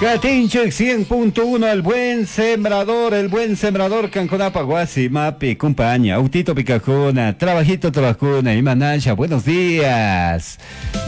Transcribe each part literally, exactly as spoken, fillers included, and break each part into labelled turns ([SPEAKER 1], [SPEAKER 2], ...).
[SPEAKER 1] Katinchik cien punto uno, el buen sembrador, el buen sembrador, Canconapa, Guasi, Mapi, compañía, Autito Picajuna, Trabajito Trabajuna, Imanasha, buenos días.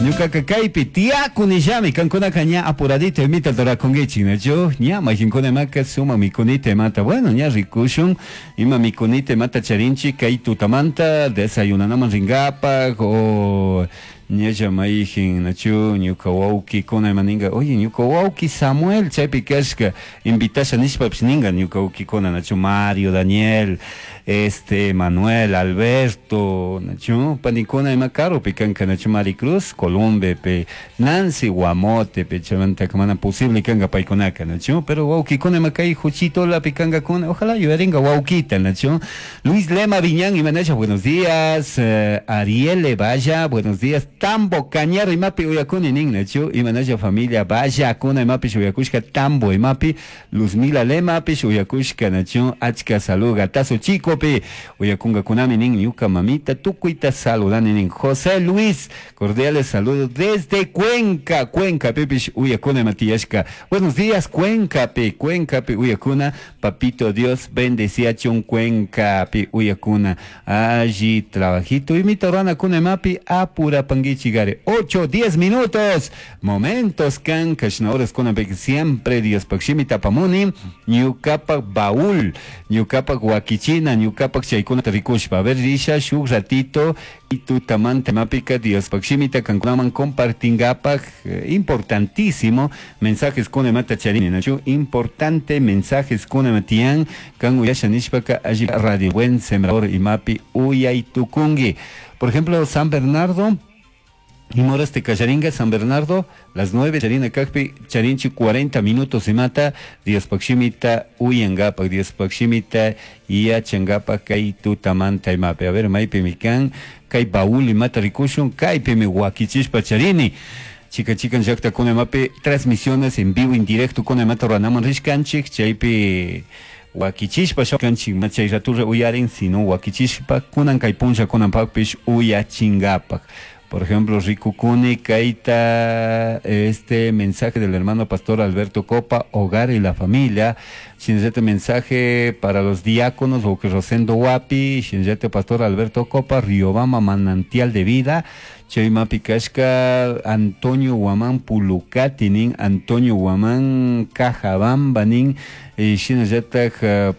[SPEAKER 1] Ñuka kaypi, tiakunillami, Cancuna caña apuradito, imita torakungichi, nacho, ña, majinkuna maka, suma mikunite mata, bueno, ña rikushun, ima mikunite mata charinchi, kay tutamanta, desayunanaman ringapa, o... Ñalla maijin nachu ñuka wawki kuna imaninga, oye ñuka wawki Samuel chaypi kashka invitasha nishpapish ninga ñuka wawkikuna nachu Mario, Daniel, este Manuel, Alberto, nachu panikuna ima karupi kanka nachu Maricruz, Columbe pe, Nancy Guamote pe, chaymanta mana posible kanka paykunaka nachu, pero wawkikuna ima kay Juchitolapi kankakuna, ojalá yuyaringa wawkita nachu. Luis Lema Viñán imanasha, buenos días, eh, Ariel Valla, buenos días. Tambo Cañar imapi uyakuni nin nachu imanasha familia vaya kuna imapi uyakushka Tambo imapi Luzmila Lemapish uyakushka nachu achka saluga tazo chico pe uyakunga kunami nin ñuka mamita tukuyta saludani nin. José Luis, cordiales saludos desde Cuenca, Cuenca pepish uyakuna imatiyashka. Buenos días Cuenca pe, Cuenca pe uyakuna, papito Dios bendeciachun Cuenca pe uyakuna. Allí trabajito y mi torana kuna imapi apura panguichigare. ocho, diez minutos. Momentos kan kashnaores kuna pe siempre Dios pakshimi tapamuni ñukapak baúl, ñukapak wakichina, ñukapak chaykuna rikushpa. A ver risha shuk ratito y tutamanta mapika Dios pakshimita kankunaman compartingapak, eh, importantísimo mensajes kuna mata charini nachu, importante mensajes kuna matian kan uyasha nishpaka allí radio buen sembrador y mapi uyay tukungi. Por ejemplo, San Bernardo y moras de Callaringa, San Bernardo, las nueve, Charina Cacpi, Charinchi, cuarenta minutos se mata, Dios Paximita, Uyangapa, Dios Paximita, Yachangapa, Kaitu, Tamanta y Mape. A ver, Maipe Mikan, Kai Baúl y Mata Rikushun, Kai Peme Huaquichishpa Charini. Chica, chica, llakta con mape, transmisiones en vivo, en directo con mata Ranaman Rishkanchik, Chaipe. Huaquichishpa kanchik machay raturra uyarin, sino huaquichishpa kunan kay puncha kunan pakpish uyachingapak. Por ejemplo, Rikukuni, Kaita, este mensaje del hermano pastor Alberto Copa, Hogar y la Familia. Shinzete mensaje para los diáconos, o que Rosendo Huapi, Shinzete pastor Alberto Copa, Riobamba, Manantial de Vida, Chayma Picashka, Antonio Guamán Pulucati, nin, Antonio Guamán Cajabamba, nin, Shinzete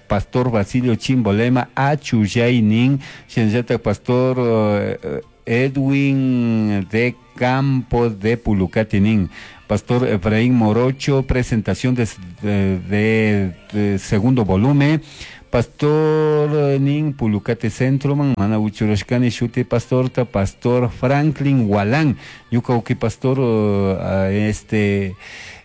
[SPEAKER 1] pastor Basilio Chimbolema, Achuyay, nin, Shinzete pastor uh, Edwin de Campos de Pulucati, nin, Pastor Efraín Morocho, presentación de, de, de, de segundo volumen. Pastor nin Pulucate Centro, man, mana uchurashkani shuti pastorta, Pastor Franklin Walán, ñuka pastor uh, este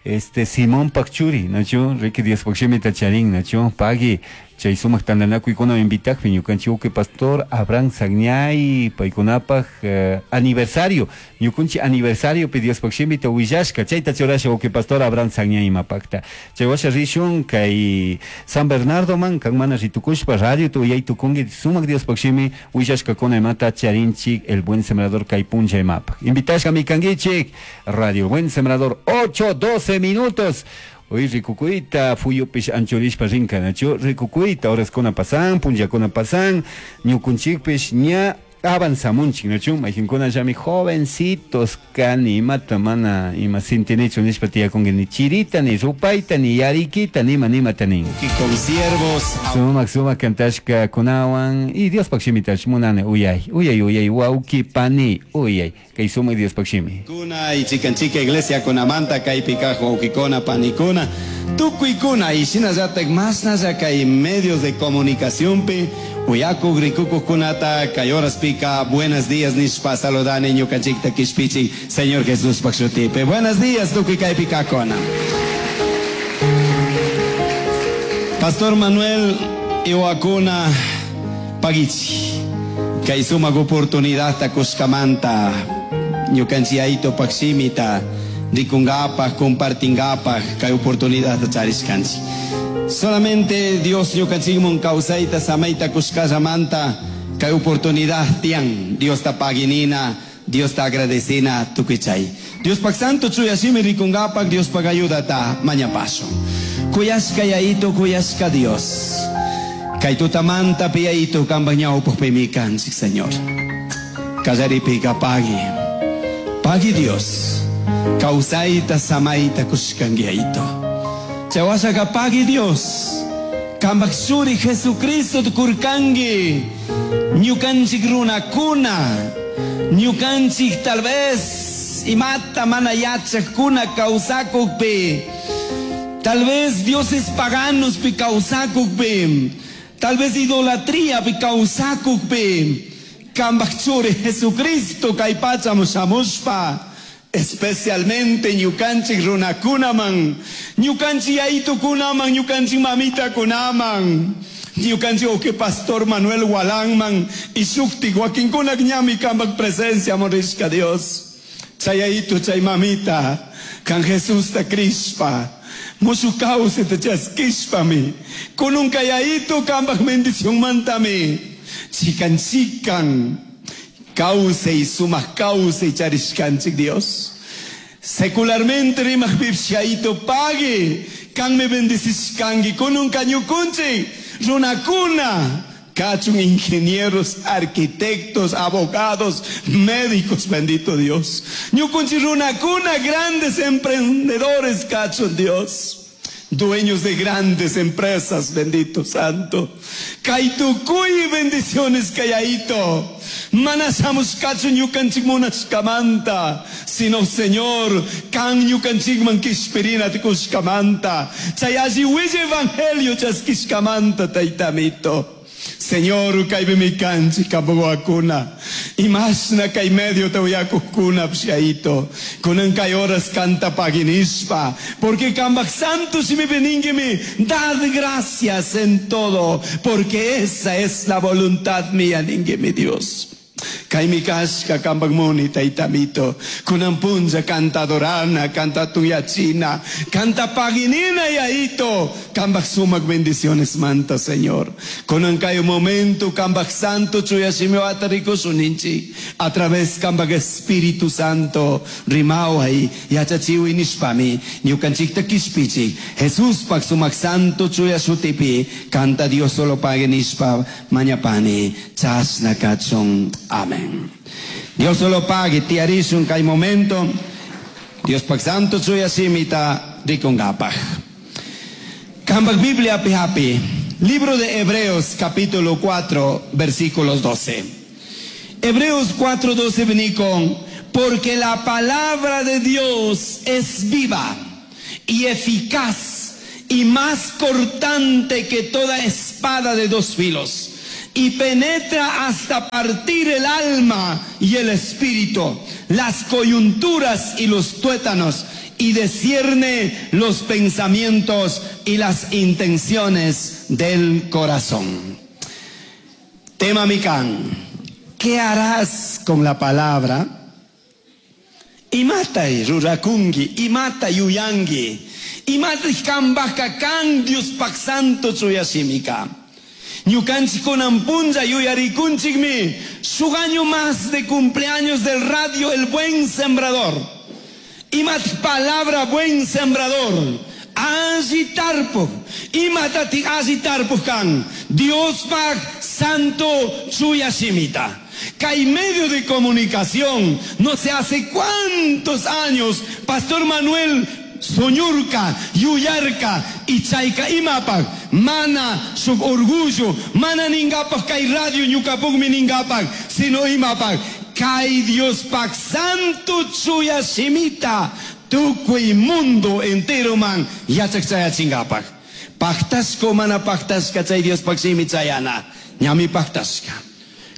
[SPEAKER 1] este Simón Pakchuri, nacho, Ricky Díaz Pakshimita Charín, nacho, pagui, chay sumaq tantanakuykuna invitakpi ñukanchik uki pastor Abraham Sagñay paykunapaj eh, aniversario, ñukunchik aniversario pi Diospaj shimita willashka, chayta churasha uki pastor Abraham Sagñay imapakta. Chay washa rishun kay San Bernardo man kan mana ritukushpa radio tu uyay tukunki sumaq Diospaj shimi willashkakuna imata charinchik el buen sembrador kay puncha imapaj. Invitashka mikankichik Radio Buen Sembrador, ocho, doce minutos. Hoy rikukuita, fuyupish anchurishpa rinka, nachu, rikukuita, horas kuna pasan, punllakuna pasan, ñukunchikpish ña avanzamunchik, nachu, majinkuna llami jovencitos kani, imata mana, ima sintinichu nishpa tiyakunki, ni chirita, ni rupaita, ni yarikita, ni ima nimata nin.
[SPEAKER 2] Y con siervos.
[SPEAKER 1] Sumak, sumak kantashka kunawan, y Diospaj shimitash munani, uyay, uyay, uyay, wauki, pani, uyay, kay sumak Diospaj shimi.
[SPEAKER 2] Kuna y chican chica iglesia kunamanta, kaypi kaj wawkikuna, panikuna, tukuykuna, y shinallatak mashnalla kay medios de comunicación pi, uyaku rikukukunata, kay horas pica, buenos días nishpa saludani ñukanchikta kishpichi, Señor Jesús pakshutipe. Buenos días, tukuy kaypi kakuna. Pastor Manuel Iwakuna Pagichi, kay sumak oportunidad ta kushkamanta, ñukanchi ayto pakshimita, rikungapaj, compartingapaj, kay oportunidad ta charishkanchi. Solamente Dios ñukanchikmun kawsayta samayta kushkallamanta, kay oportunidad tiyan, Dios ta paginina, Dios ta agradecina tukuychay. Diospak santo chuyashimi rikungapak Diospak ayudata mañapaso. Kuyashka yaito kuyashka Dios. Kay tutamanta piyaito kambak ñawpaqpimi kanchik Señor. Kallaripika pagui. Pagui Dios. Kawsayta samayta kushkanki yaito. Chawashaka pagui Dios. Kambak shuri Jesucristo kurkangi. Ñukanchik runakuna. Ñukanchik tal vez imata mana yachakuna kawsakukpi. Tal vez dioses paganos pi kawsakukpi. Tal vez idolatría pi kawsakukpi. Kambak churi Jesucristo kay pachaman shamushpa. Especialmente ñukanchik runakunaman, ñukanchik yayitukunaman, ñukanchik mamitakunaman, ñukanchik oke pastor Manuel Walanman y shuktik wakinkunak ñami kambak presencia morishka Dios. Chay yayitu chay mamita, kan Jesusta krishpa, mushu kawsayta chaskishpami, kununka yayitu kambak bendición mantami, chikan chikan, kawsay sumak kawsay charishkanchik Dios. Secularmente rimakpipish yayitu pagui, kanmi bendicishkanki, kununka ñukunchik, runakuna, kachun ingenieros, arquitectos, abogados, médicos, bendito Dios. Ñukunchik runakuna, grandes emprendedores, kachun Dios. Dueños de grandes empresas, bendito santo. Kay tukuy bendiciones kayayito. Mana shamushkachu ñukanchik munashkamanta, sino Señor, kan ñukanchikman kishpirina kushkamanta. Chay alli willa evangelio chaskishkamanta, taytamito. Señor, kaypimi kanchik kampak wawakuna. Imashna kay medio uyakukuna pshaito. Kunan kay horas kanta paginishpa. Porque kambak santo shimipi ninkimi, dad gracias en todo, porque esa es la voluntad mía, ninkimi Dios. Kaymi kashka kambak muni taytamito. Kunan punlla kanta adorana, kanta tuyachina, kanta paginina yaito. Kambak sumak bendiciones manta, Señor. Kunan kay momento kambak santo chuyashimiwata rikushun ninchik. A través kambak Espíritu Santo rimaway yachachiwi nishpami ñukanchikta kishpichik. Jesús pak sumak santo chuyashutipi kanta Dios solo pague nishpa mañapani chashna kachun. Amén. Dios solo pague tiyarishun kay momento. Dios pak santo chuyashimita rikungapaj. Kambak Biblia pihapi. Libro de Hebreos capítulo cuatro versículos doce. Hebreos cuatro doce vení con, porque la palabra de Dios es viva y eficaz y más cortante que toda espada de dos filos, y penetra hasta partir el alma y el espíritu, las coyunturas y los tuétanos, y discierne los pensamientos y las intenciones del corazón. Tema mikan, ¿qué harás con la palabra? Imatay rurakunki, imata yuyanki, imatay kambaka kan Dios pak santo chuyashimika. Ñukanchik kunan punlla yuyarikunchikmi, shuk año más de cumpleaños del radio El Buen Sembrador. Imat palabra buen sembrador. Alli tarpuk. Imatati alli tarpuk kan. Dios pak santo chuyashimita. Kay medio de comunicación, no sé hace cuántos años, Pastor Manuel soñurka, yuyarka, y chayka imapak, mana shuk orgullo, mana ningapak kay radio ñukapukmi ningapak, sino imapak, kay Dios pak santo chuyashimita, tukuy mundo entero man, yachak chayachingapak. Paktashko mana paktashka chay Dios pak shimi chayana, ñami paktashka.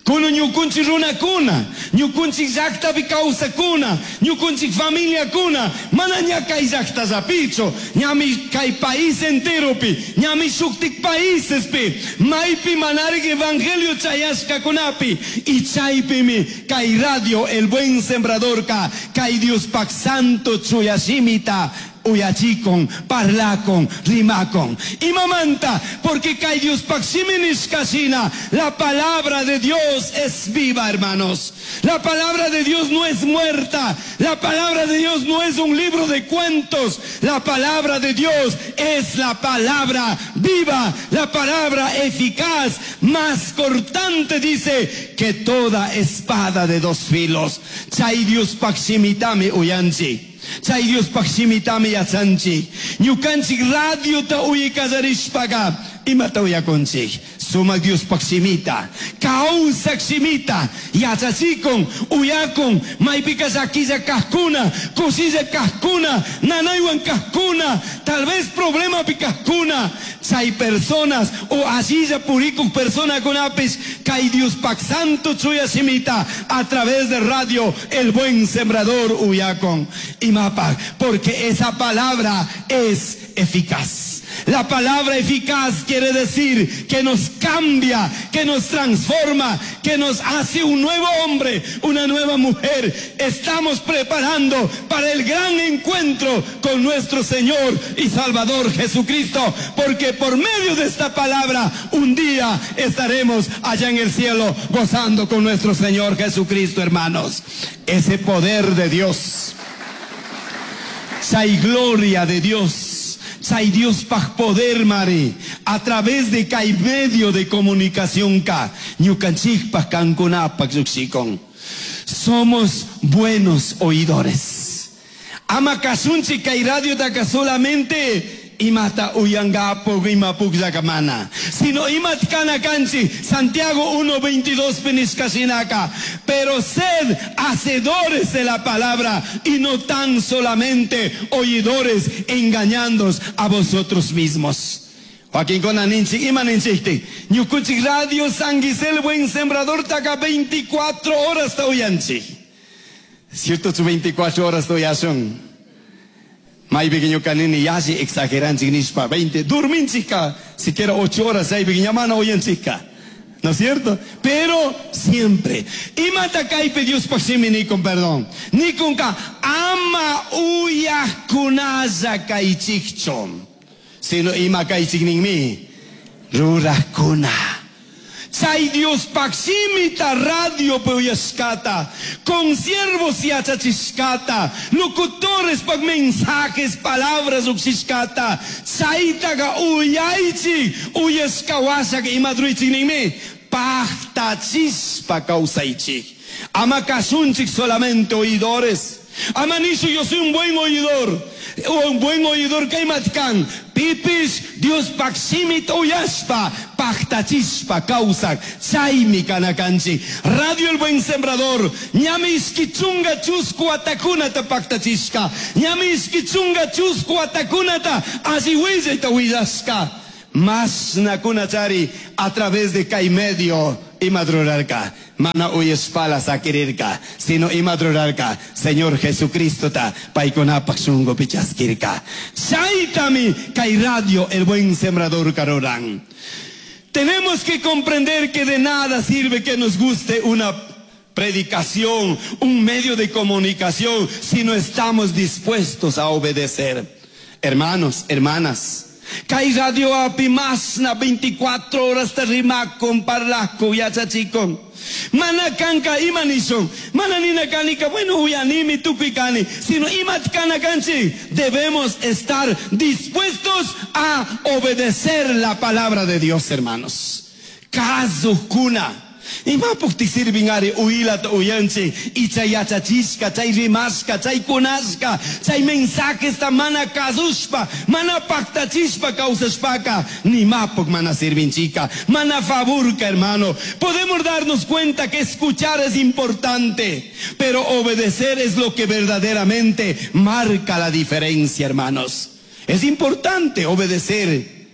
[SPEAKER 2] Kuno ñukunchik runakuna, ñukunchik llaktapi kawsakuna, ñukunchik familiakuna, mana ña kay llaktallapichu, ñami kay país enteropi, ñami shuktik paísespi, maypi manarik evangelio chayashkakunapi, y chaypimi kay radio El Buen Sembradorka, kay Dios pak santo chuyashimita, Uyachikun, parlakun, rimakun. Imamanta, porque kay Diospaj shimi nishka shina, la palabra de Dios es viva, hermanos. La palabra de Dios no es muerta. La palabra de Dios no es un libro de cuentos. La palabra de Dios es la palabra viva, la palabra eficaz, más cortante, dice, que toda espada de dos filos. Chay Diospaj shimitami uyanchik. Chay Diospaj shimitami yachanchik. Ñukanchik radiota uyaykallarishpaga imata uyakunchik. Sumak Diospaj shimita, kawsak shimita, yachachikun, uyakun, maypika llakilla kajkuna, kushilla kajkuna, nanaywan kajkuna, tal vez problemapi kajkuna, chay personas o allilla purikuk personakunapish kay Diospaj santo chuya shimita a través de radio El Buen Sembrador uyakun. Imapaj, porque esa palabra es eficaz. La palabra eficaz quiere decir que nos cambia, que nos transforma, que nos hace un nuevo hombre, una nueva mujer. Estamos preparando para el gran encuentro con nuestro Señor y Salvador Jesucristo, porque por medio de esta palabra un día estaremos allá en el cielo gozando con nuestro Señor Jesucristo, hermanos. Ese poder de Dios, esa gloria de Dios, Chay Diospaj poder mari a través de kay medio de comunicación ka ñukanchikpaj kankunapaj llukshikun. Somos buenos oidores. Ama kashunchik kay radiotaka solamente imata uyangapo ima pukllakamana, sino imat kana kanchi. Santiago uno veintidós penishkashinaka, pero sed hacedores de la palabra y no tan solamente oidores, engañándoos a vosotros mismos. Joaquín Kona ninchik, ima ninchikti. Ñukunchik radio San Gisel Buen Sembrador taka veinticuatro horas ta uyanchik. Cierto, su veinticuatro horas ta uyashun. Maypi ñukanini yalli exageranchik nishpa, veinte, durminchika, siquiera ocho horas, chaypi ñamana uyanchika. ¿No es cierto? Pero siempre. Imata kaypi Diospaj shimi nikun, perdón. Nikunka ama uyajkunalla kaychikchu, sino ima kaychik ninmi rurajkuna. Chay Diospaj shimita radio uyashkata, con siervos yachachishkata, locutores pa mensajes, palabras uxishkata, chaytaga uyaychik, uyashkawashak imadruichik ninmi, pajtachispa kawsaychik. Ama kashunchik solamente oidores. Ama nishu yo soy un buen oidor. Un buen oidor kaymatkan. Pipis Diospaj shimita uyashpa, pajtachispa kawsak, chaymi kanakanchik. Radio El Buen Sembrador, ñami ishki chunga chusku watakunata pajtachishka, ñami ishki chunga chusku watakunata alli willayta willashka. Mas nakunachari a través de kay medio imadrurarka, mana uyashpala sakirirka, sino imadrurarka, Señor Jesucristo ta paykunapaj shunkupi chaskirka. Chaytami kay radio El Buen Sembrador karuran. Tenemos que comprender que de nada sirve que nos guste una predicación, un medio de comunicación, si no estamos dispuestos a obedecer. Hermanos, hermanas, kay radio api masna veinticuatro horas te rimakon, parlako, yachachikon. Mana kanka ima nishon, mana nina kanika, bueno, uyanimi tukuy kani, sino imat kana kanchi. Debemos estar dispuestos a obedecer la palabra de Dios, hermanos. Kazukuna. Imapuk sirvin ari uilat uyanchi, icha yachachishka, chay rimashka, chay kunashka, chay mensajes ta mana kazushpa, mana paktachishpa kausashpaka, ni mapuk mana sirvinchika, mana faburka, hermano. Podemos darnos cuenta que escuchar es importante, pero obedecer es lo que verdaderamente marca la diferencia, hermanos. Es importante obedecer,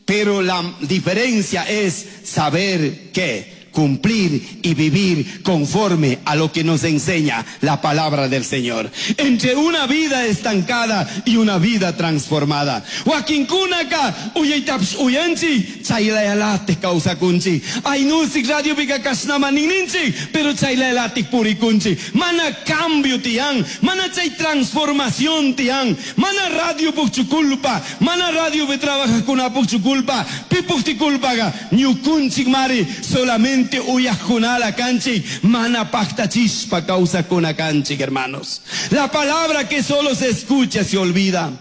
[SPEAKER 2] pero la diferencia es saber que Cumplir y vivir conforme a lo que nos enseña la palabra del Señor. Entre una vida estancada y una vida transformada. Wakinkunaka uyaytapish uyanchik chaylayalatik kawsakunchik. Aynusik radiopika kashnama ninninchik, pero chaylayalatik purikunchik. Mana cambio tiyan, mana chay transformación tiyan, mana radio pukchu culpa, mana radio pi trabajajkunapukchu culpa, pipukti culpaga ñukunchik mari solamente uyajkunala kanchik, mana paktachishpa kawsakuna kanchik, hermanos. La palabra que solo se escucha se olvida.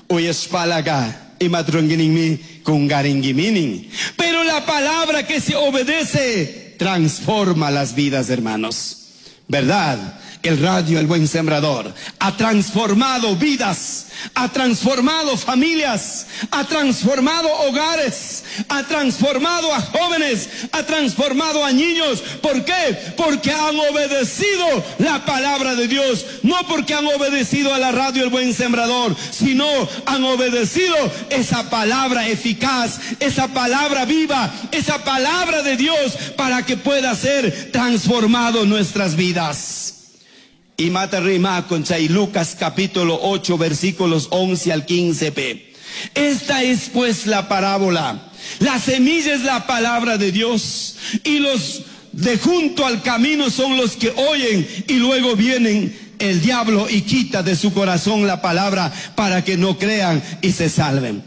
[SPEAKER 2] Uyashpalaga imatrunguininmi kungaringuiminin. Pero la palabra que se obedece transforma las vidas, hermanos. ¿Verdad? El radio El Buen Sembrador ha transformado vidas, ha transformado familias, ha transformado hogares, ha transformado a jóvenes, ha transformado a niños. ¿Por qué? Porque han obedecido la palabra de Dios. No porque han obedecido a la radio El Buen Sembrador, sino han obedecido esa palabra eficaz, esa palabra viva, esa palabra de Dios para que pueda ser transformado nuestras vidas. Y mata rima con Lucas capítulo ocho versículos once al quince p. Esta es pues la parábola. La semilla es la palabra de Dios, y los de junto al camino son los que oyen, y luego vienen el diablo y quita de su corazón la palabra para que no crean y se salven.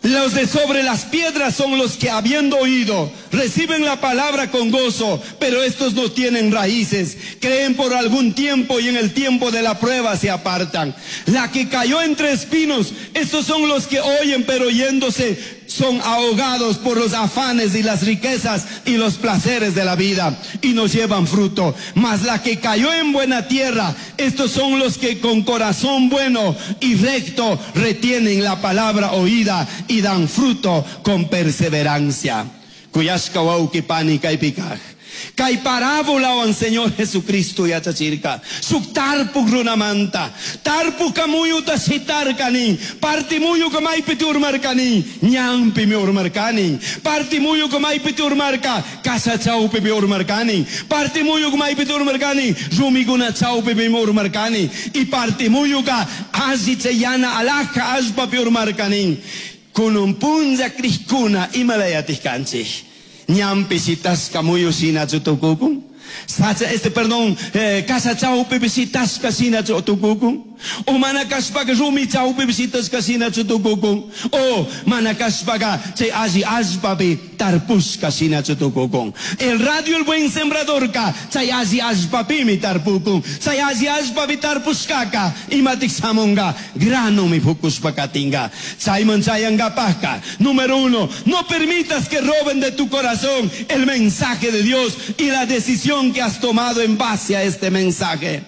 [SPEAKER 2] Los de sobre las piedras son los que, habiendo oído, reciben la palabra con gozo, pero estos no tienen raíces, creen por algún tiempo y en el tiempo de la prueba se apartan. La que cayó entre espinos, estos son los que oyen, pero oyéndose son ahogados por los afanes y las riquezas y los placeres de la vida y no llevan fruto. Mas la que cayó en buena tierra, estos son los que con corazón bueno y recto retienen la palabra oída y dan fruto con perseverancia. Kuyashka wauki pani kaypikaj. Kay parábola wan Señor Jesucristo yachachirka. Suk tarpuk runamanta. Tarpuka muyuta shitarkanin. Parti muyuka maypiti urmarkanin. Ñanpi mi urmarkanin. Parti muyuka maypiti urmarka. Kasha chawpi mi urmarkanin. Parti muyuka maypiti urmarkanin. Rumikuna chawpi mi urmarkanin. Y parti muyuka alli chayana alhaja allpapi urmarkanin. Kunun punlla krishkuna imalayatik kanchik. Ñampi shitashka muyu shinachu tukukun. Sacha, este, perdón, eh, casa chawpi shitashka shinachu tukukun. O mana kashpaka rumi chawpi shitashka shinachu tukukun. O mana kashpaka chay alli allpapi tarpushka shinachu tukukun. El radio El Buen Sembradorka chay alli allpapimi tarpukun. Chay alli allpapi tarpushkaka imatik shamunga grano mi fukushpakatinga. Chayman chayangapajka. Número uno, no permitas que roben de tu corazón el mensaje de Dios y la decisión que has tomado en base a este mensaje.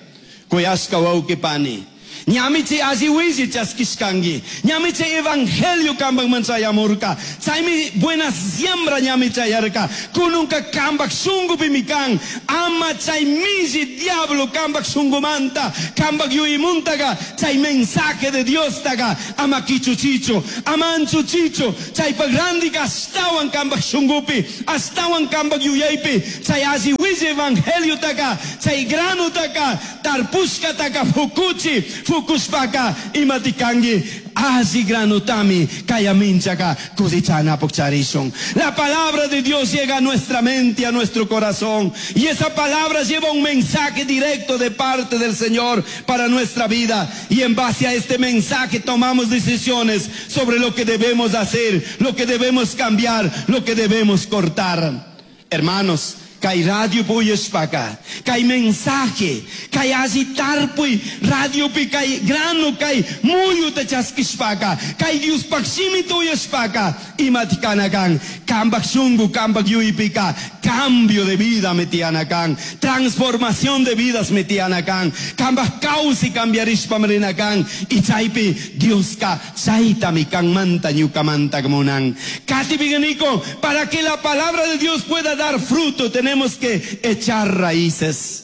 [SPEAKER 2] Kuyashka wauki pani. Ñamichi alli willi chaskishkanki. Ñamichi evangelio kambak manchayamurka. Chaymi buena siembra ñami chayarka. Kununka kambak shungupi mikan. Ama chay milli diablo kambak shungumanta. Kambak yuyimунtaga. Chay mensaje de Dios taga. Ama kichuchicho. Ama anchuchicho. Chaypa grandika astawan kambak shungupi. Astawan kambak yuyaypi. Chay alli willi evangelio taga. Chay grano taga. Tarpushka taga fukuchi. Fukushpaka imatikangi alli granutami kayaminchaka cosechana pokcharishon. La palabra de Dios llega a nuestra mente, a nuestro corazón, y esa palabra lleva un mensaje directo de parte del Señor para nuestra vida, y en base a este mensaje tomamos decisiones sobre lo que debemos hacer, lo que debemos cambiar, lo que debemos cortar. Hermanos, kay radio puyashpaka, kay mensaje, kay alli tarpuy, radio pi kay grano kay muyuta chaskishpaka, kay Diospaj shimita uyashpaka, imatikanakan, kambak shungu, kambak yuypika, cambio de vida metianakan, transformación de vidas metianakan, kambak kawsi cambiarishpa mrinakan, y chaypi Dioska chaytami kanmanta ñukamanta munan. Katipiganiko, para que la palabra de Dios pueda dar fruto, tenemos que echar raíces.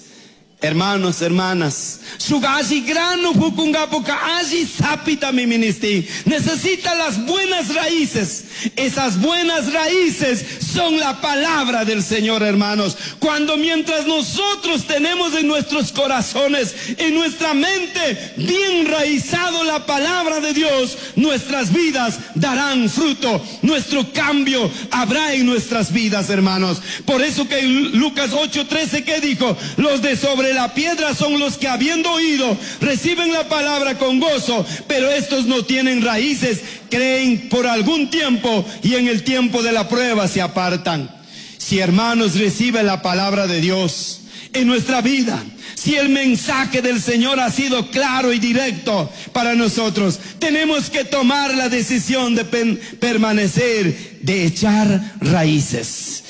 [SPEAKER 2] Hermanos, hermanas, shuk alli grano fukungapuka alli sapitami ministin. Necesita las buenas raíces. Esas buenas raíces son la palabra del Señor, hermanos. Cuando mientras nosotros tenemos en nuestros corazones, en nuestra mente, bien raizado la palabra de Dios, nuestras vidas darán fruto. Nuestro cambio habrá en nuestras vidas, hermanos. Por eso que en Lucas ocho trece, ¿qué dijo? Los de sobre la piedra son los que habiendo oído reciben la palabra con gozo, pero estos no tienen raíces, creen por algún tiempo y en el tiempo de la prueba se apartan. Si, hermanos, reciben la palabra de Dios en nuestra vida, si el mensaje del Señor ha sido claro y directo para nosotros, tenemos que tomar la decisión de pen-, permanecer, de echar raíces.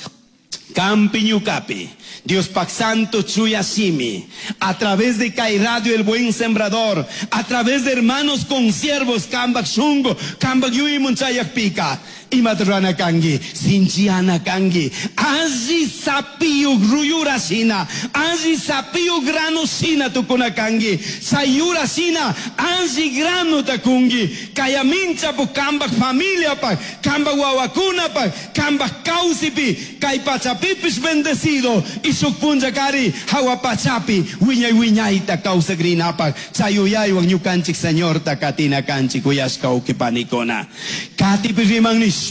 [SPEAKER 2] Kampi ñukapi, Dios pak Santo Chuyashimi, a través de Kai Radio El Buen Sembrador, a través de hermanos consiervos, Kambak Shungo, Kambak Yuimun Chayakpika, Imatrana Kangi, Sinchiana Kangi, Aji Sapiu Ruyura Shina, Aji Sapiu Grano Shina Tukuna Kangi, Sayura Shina, Aji Grano Takungi, Kayamincha pu Kambak familia pa, Kambak Wawakuna pa, Kambak Kausipi, Kaipachapipish bendecido, y Sukpunjakari, Hawapachapi, Wiñay Wiñayta Kausagrinapa, Chayuyaywan Ñukanchik Señor Takatina Kanchik Uyashka Ukipanikona. Katipi Riman Nishpa.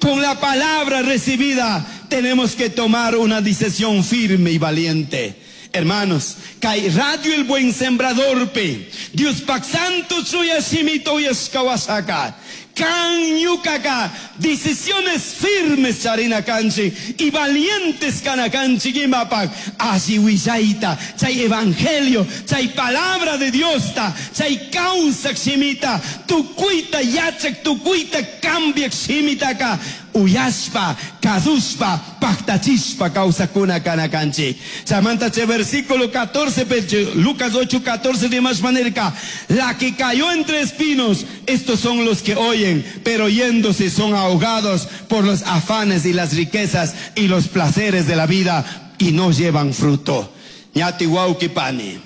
[SPEAKER 2] Con la palabra recibida tenemos que tomar una decisión firme y valiente. Hermanos, Kai Radio El Buen Sembrador pe, Dios Pak Santo Chuya Shimito Yashkawasaka. Kan ñukaka, decisiones firmes charina kanchi y valientes kana kanchi gimapak, así willaita, chay evangelio, chay palabra de Dios ta, chay causa shimita, tukuita yachak, tukuita cambiak shimitaka, uyashpa, kazushpa, paktachishpa causa kuna kana kanchi. Chamanta che versículo catorce, pe, Lucas ocho, catorce de más manera, la que cayó entre espinos, estos son los que oyen, pero yéndose son ahogados por los afanes y las riquezas y los placeres de la vida y no llevan fruto. Ñati wauki pani.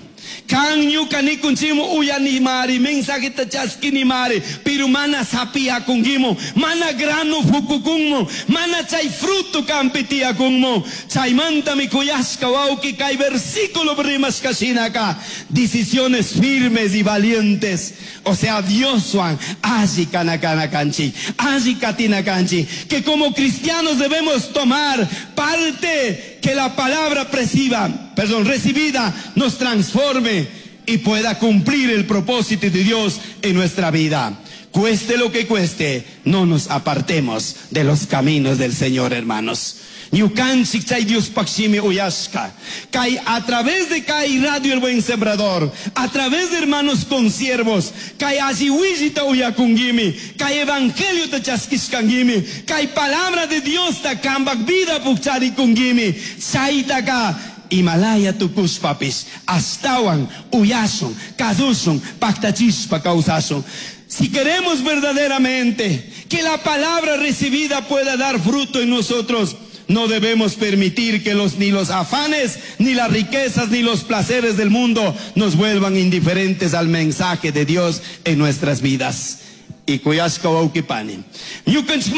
[SPEAKER 2] Kan ñuka nikunchimu uyanimari, mensajeta chaskinimari, pero mana sapia kungimu, mana grano fukukunmu, mana chay fruto kampitia kunmu, chay manta mi kuyashka wauki kay versículo rimaska shinaka, decisiones firmes y valientes, o sea, Dios Juan, allí kana kana kanchi, allí katina kanchi, que como cristianos debemos tomar parte que la palabra perciba, perdón, recibida nos transforme y pueda cumplir el propósito de Dios en nuestra vida. Cueste lo que cueste, no nos apartemos de los caminos del Señor, hermanos. Ñukanchik chay Dios pakshimi uyashka. Kai a través de Kai Radio El Buen Sembrador, a través de hermanos consiervos, kai ajiwijita uyakungimi, kai evangelio ta chaskishkangimi, kai palabra de Dios ta kambak vida pukchari kungimi, chaytaka Himalaya tukushpapis, astawan, uyasun, kadusun, paktachispa kawsasun. Si queremos verdaderamente que la palabra recibida pueda dar fruto en nosotros, no debemos permitir que los, ni los afanes, ni las riquezas, ni los placeres del mundo nos vuelvan indiferentes al mensaje de Dios en nuestras vidas. Y kuyashka wawkipani. Ñukanchik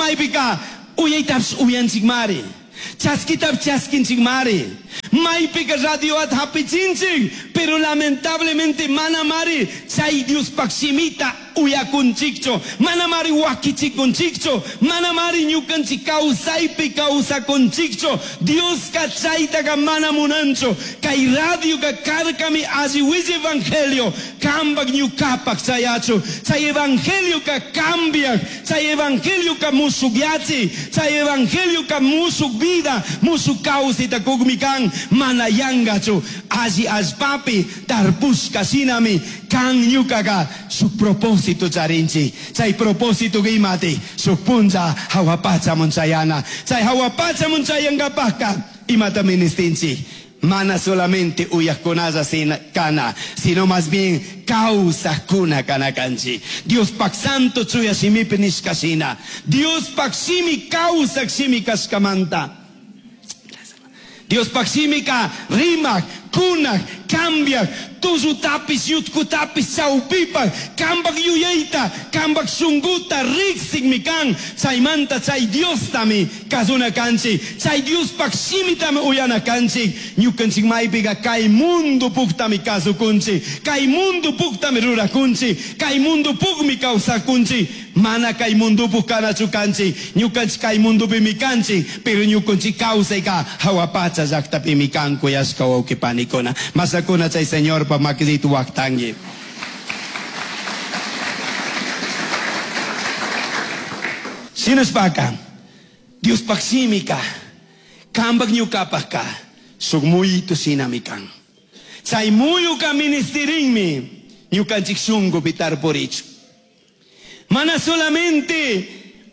[SPEAKER 2] uyaytaps uyanchikmari. Chaskitap chaskinchikmari. Maypika radio at hapichinchik, pero lamentablemente manamari chay Dios pakshimita uyakunchikcho, manamari wakichikunchikcho, manamari ñukanchik kawsaypi kawsakunchikcho, Dios ka chaytaka mana munancho, kay radio ka karkami alliwilla evangelio, kambak ñukapak chayacho, chay evangelio ka cambiak, chay evangelio ka musukyachi, chay evangelio ka musuk vida, musuk kawsita kukmikan, mana yangachu, alli allpapi tarpushka shinami, kan ñukaka su propósito charinchi, chay propósito imati, su punza hawapacha munchayana, chay hawapacha munchayangapaka, imata ministinchi. Mana solamente uyakunaza sin kana, sino más bien causa kuna kana kanchi. Dios pak santo chuya shimipi nishkashina. Dios pak shimi causa shimi kashkamanta. Dios pak shimika rimak, kunak, cambiaj, tullutapis yutkutapis chawpipaj, kambaj yuyayta, kambaj shunkuta riqsikmi kan. Chaymanta chay Diostami kasuna kanchik, chay Diospaj shimitami uyana kanchik. Ñukanchik maypiqa kay mundo puktami kasukunchik, kay mundo puktami rurakunchik, kay mundo pukmi kawsakunchik. Mana kay mundo puk kanachu kanchik, ñukanchik kay mundopimi kanchik, pero ñukanchik kawsayka hawa pacha llaqtapimi kan, kuyashka wawqi panikuna. Masakuna chay Señorpa makisitu waqtanki. Shinashpaka Diospaj shimika kambaj ñukapajka shuk muyito shinami kan. Chay muyuka ministirinmi ñukanchik shunkupi tarpurichu. Mana solamente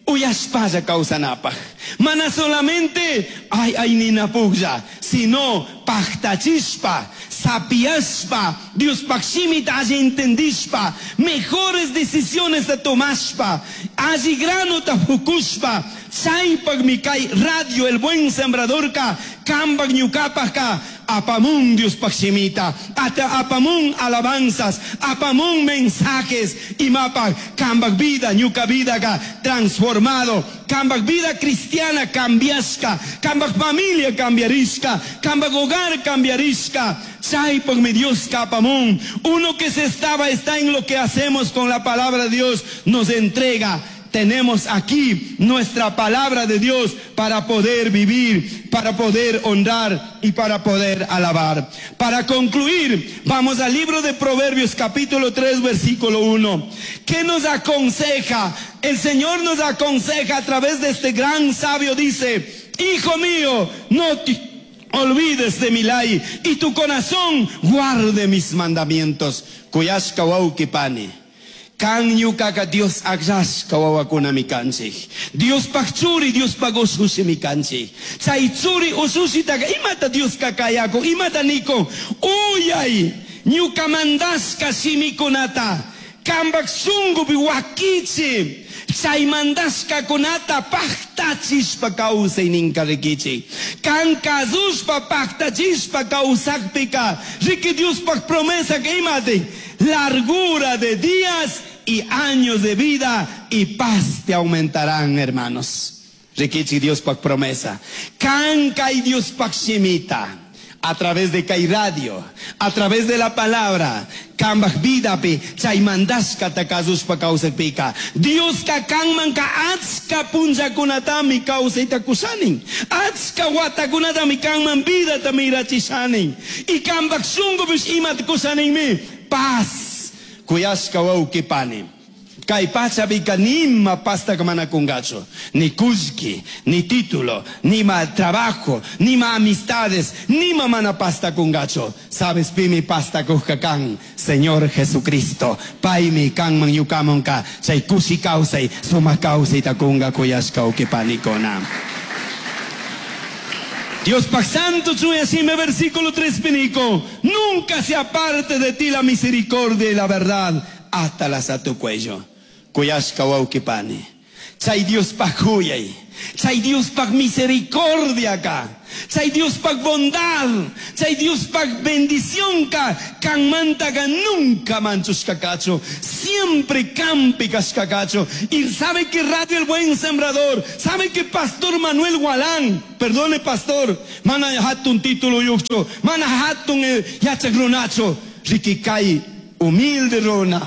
[SPEAKER 2] uyashpalla kawsanapaj, mana solamente ay ay ninapuklla, sino paktachishpa, sapiashpa, Diospaj shimita alli entendishpa, mejores decisiones tomashpa, alli granota fukushpa. Chaypaqmi kay radio El Buen Sembradorka kambaj ñukapajka apamun Diospaj shimita, ata apamun alabanzas, apamun mensajes, imapaj kambaj vida, ñuka vidaka transformado, kambaj vida cristiana cambiashka, kambaj familia cambiarishka, kambaj hogar cambiarishka. Chaypaqmi Dios apamun. Uno que se estaba está en lo que hacemos con la palabra de Dios, nos entrega. Tenemos aquí nuestra palabra de Dios para poder vivir, para poder honrar y para poder alabar. Para concluir, vamos al libro de Proverbios capítulo tres, versículo uno. ¿Qué nos aconseja? El Señor nos aconseja a través de este gran sabio, dice: Hijo mío, no te olvides de mi ley y tu corazón guarde mis mandamientos. Kuyashka wawqi pani. Kan ñukaka Dios akllashka wawakunami kanchik. Diospaj churi, Diospaj ushushimi kanchik. Chay churi ushushitaka imata Dioska kayakun, imata nikun. Uyay ñuka mandashka shimikunata kambaj shunkupi wakichi. Chay mandashkakunata paktachishpa kawsay ninka rikichik. Kan kasushpa paktachishpa kawsakpika riki Diospaj promesa que imati largura de días y años de vida y paz te aumentarán, hermanos. Rikichi Diospaj promesa. Kan kay Diospaj shimita. A través de kay radio, a través de la palabra, kambaj vidapi, chay mandashka ta kasushpa kawsakpika. Dioska kanmanka achka punllakunatami kawsayta kushanin. Achka watakunatami kanman vidata mirachishanin. Y kambaj shunkupish imata kushaninmi. Paz. Kuyashka wawqi pani. Kay pachapika nima pasta mana kungachu. Ni kullki, ni título, nima trabajo, nima amistades, nima mana pasta kungachu. Sabes pimi pasta kujka kan, Señor Jesucristo. Paymi kanman yukamonka, chay kushi kawsay, suma kawsay takunga kuyashka wawqi panikuna. Diospaj santo chuyashime, versículo tres pinico. Nunca se aparte de ti la misericordia y la verdad, átalas a tu cuello. Kuyashka wawqi pani. Chay Diospaj kuyay. Chay Diospaj misericordia ka. Chay Diospaj bondad. Chay Diospaj bendición ka. Kanmanta ka nunca manchushka kachu. Siempre kampi kashka kachu. Y sabe que Radio El Buen Sembrador, sabe que Pastor Manuel Gualán, perdone pastor, mana hatun título yucho, mana hatun yachak runacho, rikikai humilde runa,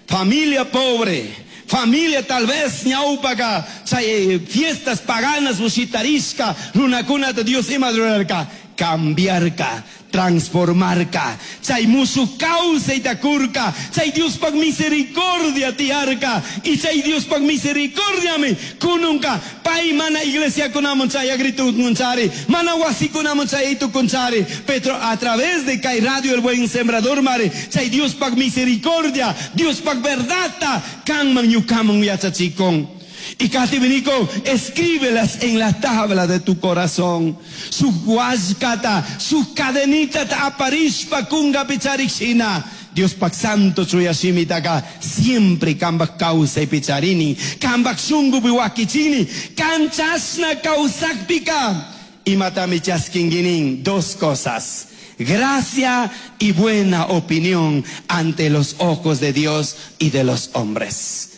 [SPEAKER 2] familia pobre, familia tal vez ñaupaka, chay fiestas paganas ushitarishka, runakunata Dios ima rurarka, cambiarka, transformarka, chay musu kawsayta kurka, chay Diospaj misericordia tiarka, y chay Diospaj misericordiami kununka, pay mana iglesia kunamun chay agritu kunchari, mana wasi kunamun chay itu kunchari, pero a través de kay radio El Buen Sembrador mare, chay Diospaj misericordia, Diospaj verdadta, kanman ñukaman yachachikon. Y Catibinico, escríbelas en la tabla de tu corazón. Su huascata, su cadenita aparishpa kunga picharishina. Dios pak santo chuyashimitaka siempre kambak causa y picharini, kambak shungu biwakichini, kanchasna causakpika. Y matami chaskinguinin, dos cosas. Gracia y buena opinión ante los ojos de Dios y de los hombres.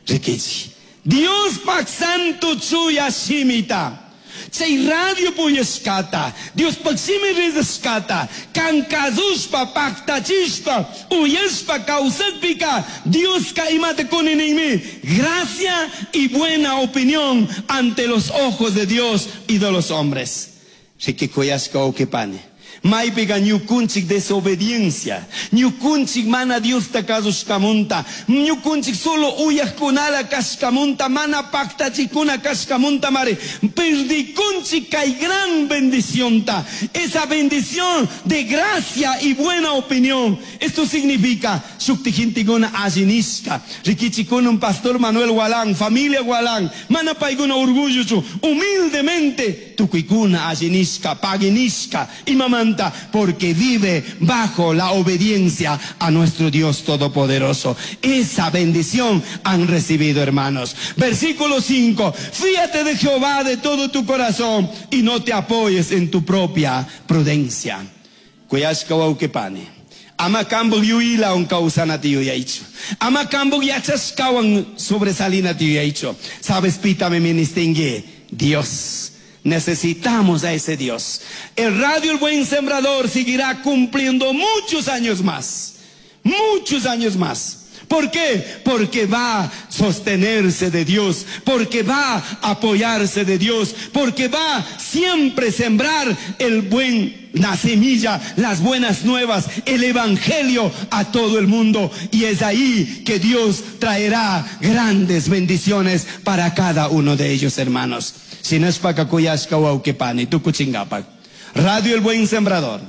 [SPEAKER 2] Riquichi. Diospaj santo chuya shimita. Chay radio puyashkata, Diospaj shimi rizashkata, kan kazushpa, paktachishpa, uyashpa, kawsakpika, Dioska imata kuni ninmi, gracia y buena opinión ante los ojos de Dios y de los hombres. Riqui kuyashka wawqipani. Maypiqa ñukunchik desobediencia, ñukunchik mana Diosta kasushkamunta, ñukunchik solo uyajkunala kashkamunta, mana paktachikuna kashkamunta mari, perdikunchik kay gran bendicionta, esa bendición de gracia y buena opinión. Esto significa, shukti gentekuna alli nishka, riquichikuna un pastor Manuel Gualán, familia Gualán, mana paykuna orgullochu, humildemente, tukuykuna alli nishka, pagui nishka, imamanta, porque vive bajo la obediencia a nuestro Dios Todopoderoso. Esa bendición han recibido, hermanos. Versículo cinco, fíate de Jehová de todo tu corazón y no te apoyes en tu propia prudencia. Kuyashka wawqipani. Ama kambuk yuyaywan kawsanata yuyaichu. Ama kambuk yachashkawan sobresalinata yuyaichu. ¿Sabes, pitami ministingi? Dios. Necesitamos a ese Dios. El radio El Buen Sembrador seguirá cumpliendo muchos años más. Muchos años más. ¿Por qué? Porque va a sostenerse de Dios, porque va a apoyarse de Dios, porque va a siempre sembrar el buen, la semilla, las buenas nuevas, el evangelio a todo el mundo. Y es ahí que Dios traerá grandes bendiciones para cada uno de ellos, hermanos. Shinashpaka kuyashka wawqipani, tukuchingapak. Radio El Buen Sembrador.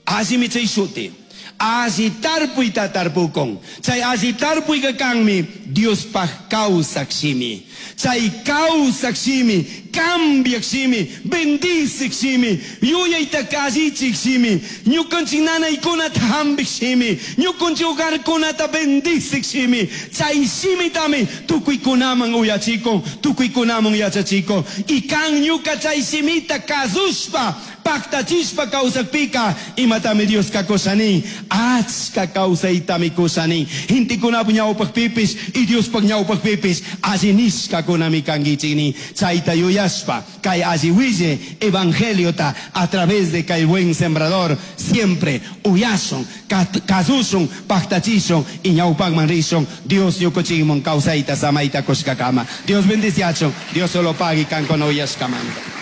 [SPEAKER 2] Allimi chay shuti. Alli tarpuyta tarpukun. Chay alli tarpuyka kanmi Diospaj kawsak shimi. Chay kawsak shimi, cambiak shimi, bendicik shimi, yuyayta allichik shimi, ñukanchik nanaykunata hampik shimi, ñukanchik hogarkunata bendicik shimi. Chay shimitami tukuykunaman uyachikun, tukuykunaman yachachikun. Y kan ñuka chay shimita kasushpa, paktachishpa kawsakpika, imatami Dioska kushanin, achka kawsaytami kushanin. Gentekunapa ñawpakpipis y Diospaj ñawpakpipis alli nishkakunami kankichik nin. Chayta yuyashpa, kay alli wille evangeliota a través de kay buen sembrador siempre uyashun, kat-, kasushun, paktachishun y ñawpakman rishun. Dios ñukuchikman kawsayta samayta kushkakama. Dios bendiciachun, Dios solo pagui kankuna uyashkamanta.